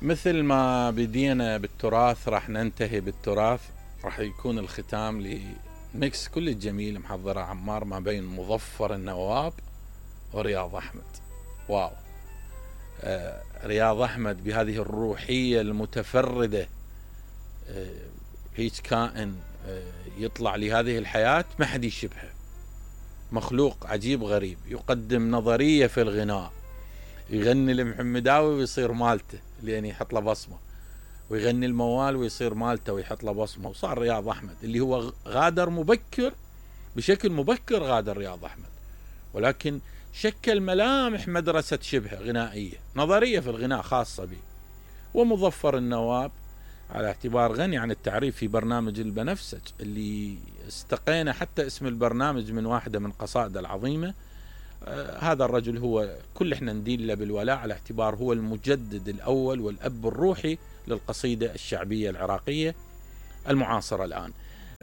مثل ما بدينا بالتراث راح ننتهي بالتراث. راح يكون الختام لميكس كل الجميل محضرة عمار ما بين مظفر النواب ورياض أحمد. واو. رياض أحمد بهذه الروحية المتفردة، هيك كائن يطلع لهذه الحياة ما حد يشبهه، مخلوق عجيب غريب، يقدم نظرية في الغناء، يغني المحمداوي ويصير مالته لين يحط له بصمة، ويغني الموال ويصير مالته ويحط له بصمة. وصار رياض أحمد اللي هو غادر مبكر، بشكل مبكر غادر رياض أحمد، ولكن شكل ملامح مدرسة شبه غنائية، نظرية في الغناء خاصة به. ومظفر النواب على اعتبار غني عن التعريف في برنامج البنفسج اللي استقينا حتى اسم البرنامج من واحدة من قصائده العظيمة. هذا الرجل هو كل احنا ندين له بالولاء على اعتبار هو المجدد الأول والأب الروحي للقصيدة الشعبية العراقية المعاصرة الآن.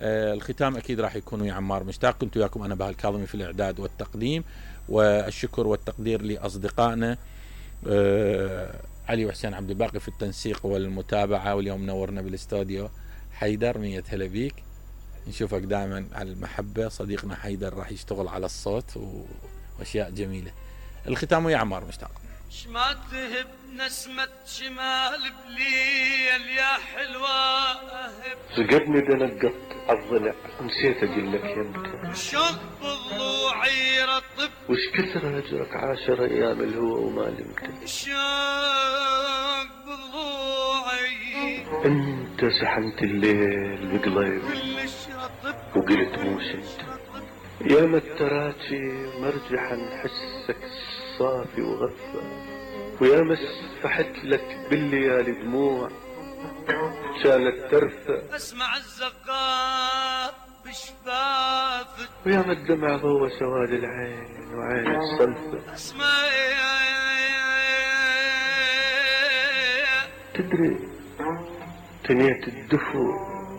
الختام أكيد راح يكون ويا عمار مشتاق. كنت وياكم أنا بهاء الكاظمي في الإعداد والتقديم، والشكر والتقدير لأصدقائنا علي وحسين عبد الباقي في التنسيق والمتابعة، واليوم نورنا بالاستوديو حيدر. 100 هلا بيك، نشوفك دائما على المحبة. صديقنا حيدر راح يشتغل على الصوت واشياء جميلة. الختام ويا عمار مشتاق. شما تهب نسمة شمال بليل يا حلوة أهب، سقدني دنقط عالضلع ونسيت اقول لك يمتى، وشوق بضلوعي رطب، وش كثر هجرك 10 ايام الهوى وما لمته، شوق بضلوعي انت سحنت الليل بقليل كلش رطب، وقلت مو شد يا متراتي مرجحا حسك صافي وغفى، ويا مسفحت لك بالليالي دموع كانت ترفع، اسمع الزقار بشفافك، ويا ما الدمع ضوى سواد العين وعين الصلفة، اسمع تدري تنيت الدفو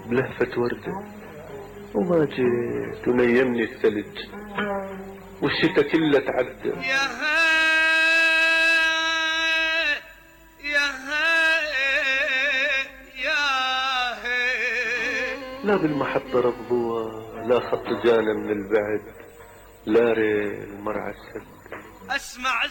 بلهفة وردة وما جيت ونيمني الثلج والشتا كله تعدى، يا هي يا هي يا هي، لا بالمحطة رضوة لا خط جانا من البعد لا ريل مرعى السد، اسمع